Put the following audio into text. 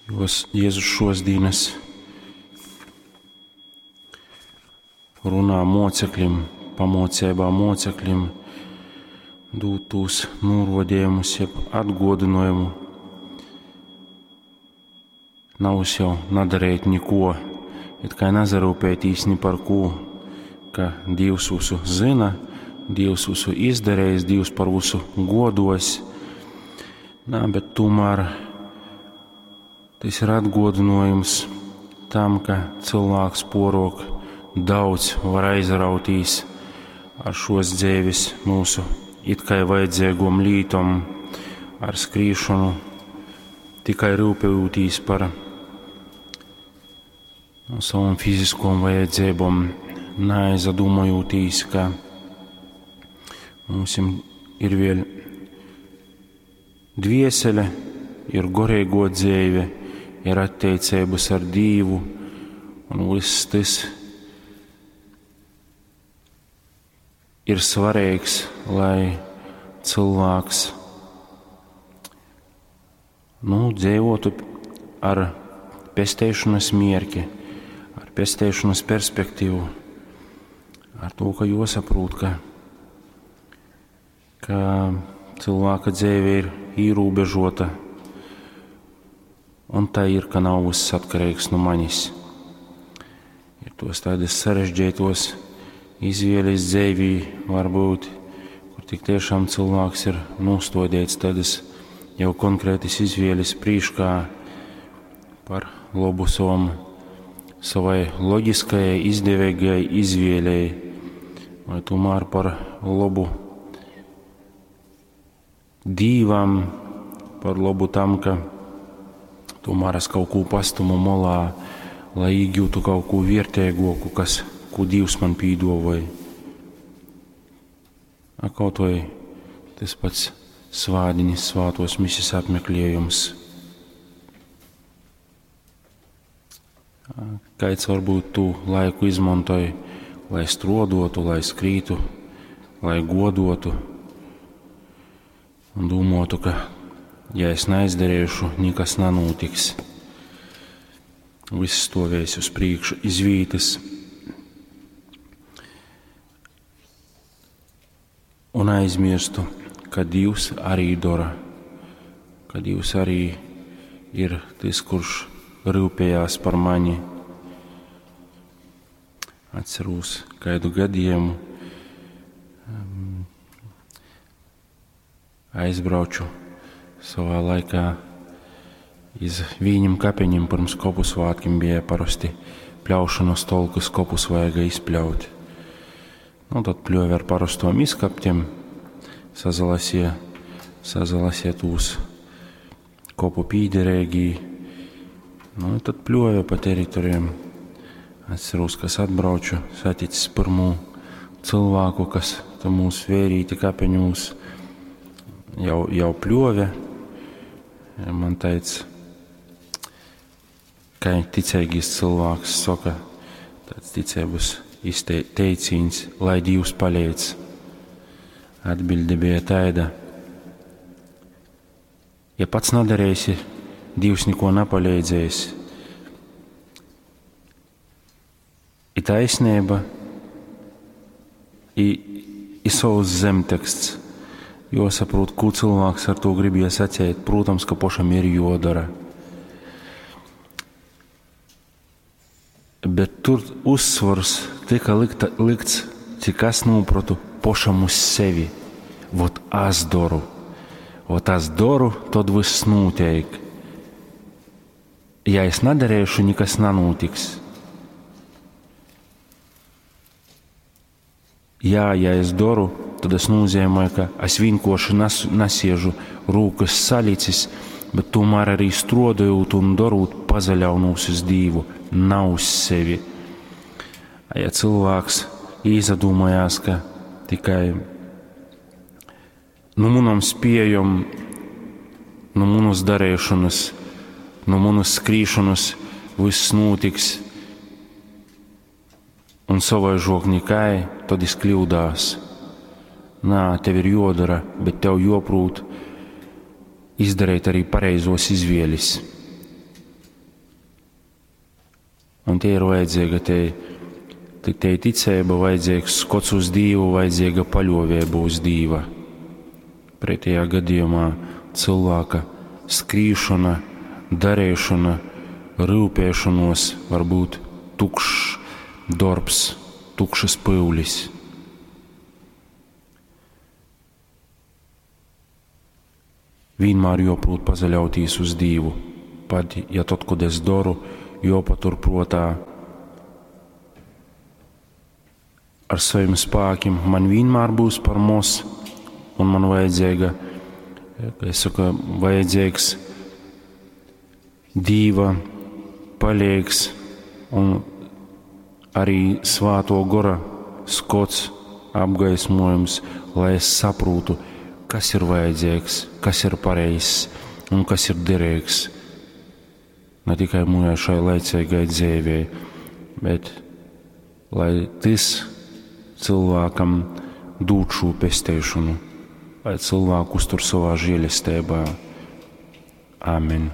Jos, Jēzus šos dīnas runā moceklim, pamocībā moceklim, dūt tūs nūrodījumus, jeb atgodinājumu. Nav jau nadarīt neko, it kā nazarūpētīs ni par ko, ka Dievs visu zina, Dievs visu izdarījis, Dievs par visu godos. Nā, bet tomēr tas ir atgodinājums tam, ka cilvēks porok daudz var aizrautīs ar šos dzīves mūsu it kā vajadzīgom lītom, ar skrīšanu, tikai rūpējotīs par savam fiziskom vajadzībom, neaizdomājotīs, ka mums ir vēl dviesele, ir gorīgo dzīve, ir attiecības ar Dievu, un viss tas ir svarīgs, lai cilvēks nu, dzīvotu ar pesteišanas mierki, ar pesteišanas perspektīvu, ar to, ka jāsaprot, ka, ka cilvēka dzīve ir ierobežota, un tā ir, ka nav viss atkarīgs no manis. Ir tos tādas sarežģītos izvēles dzīvī varbūt, kur tik tiešām cilvēks ir nostodīts tādas jau konkrētas izvēles prīškā par labu savam, savai loģiskajai, izdevīgajai izvēlei, vai tomēr par labu Dīvam, par labu tam, ka tomēr es kaut ko pastumu molā, lai iegūtu kaut ko vērtīgāku, kas, ko Dievs man pīdavoja. A kaut vai tas pats svādiņas, svātos misijas apmeklējums. Kāds varbūt tu laiku izmantoja, lai strodotu, lai skrītu, lai godotu un domātu, ka, ja es neizdarīšu, nekas nenotiks. Viss stovēs uz priekšu izvītas. Un aizmirstu, ka Dievs arī dara, ka Dievs arī ir tas, kurš rūpējās par mani. Atceros kādu gadījumu, aizbrauču savā laikā iz viņam kapeņiem pirms kopu svētkiem bija parasti pļaušanas tolkas kopus vajaga izpļaut. Nu, tad pļoja ar parastom izkaptiem, sazalasīja, sazalasīja tūs kopu pīderēgī. Nu, tad pļoja pa teritorijām. Atceros, kas atbrauču, saticis pirmo cilvēku, kas tam mūsu vērīti kapeņūs jau, jau pļoja. Man teica, ka ticīgais cilvēks saka, tāds ticības teiciens, lai Dievs palīdz. Atbilde bija tāda, ja pats nedarīsi, Dievs neko nepalīdzēs. I taisnība, i, i savs zemteksts. Jāsaprot, ko cilvēks ar to grib iesacīt. Protams, ka pašam ir jodara. Bet tur uzsvars tika likta, likts, cik es noprotu, pašam uz sevi. Vot es daru. Vot es daru, tad viss notiek. Ja es nedarīšu, nekas nenotiks. Jā, ja es daru, tad es nozīmēju, ka es vienkārši nes, nesiežu rūkas salicis, bet tomēr arī strodojot un darot pazaļaunos uz Dievu, nav uz sevi. Ja cilvēks īzadomājās, ka tikai nu manam spējam, nu manas darīšanas, nu manas skrīšanas viss notiks, un savaižok nekai, tad es kļūdās. Nā, tev ir jodara, bet tev joprūt izdarīt arī pareizos izvēles. Un te ir vajadzīga te, te ticība, vajadzīgs skots uz Dievu, vajadzīga paļāvība uz Dieva. Pretējā gadījumā cilvēka skrīšana, darīšana, rūpēšanos var būt tukšs darbs, tukšas pyulis. Vienmēr jāprot pazaļauties uz Dievu, pat ja tad, kad es daru, jāpatur prātā ar saviem spēkiem man vienmēr būs par maz, un man vajadzīga, es saku, vajadzīgs Dīva palīgs un arī svāto gora skots, apgaismojums, lai es saprotu, kas ir vajadzīgs, kas ir pareizs un kas ir derīgs. Ne tikai mūjā šai laicīgai dzīvē, bet lai tas cilvēkam dod šo pestīšanu, lai cilvēku uztur savā žēlestībā. Āmen.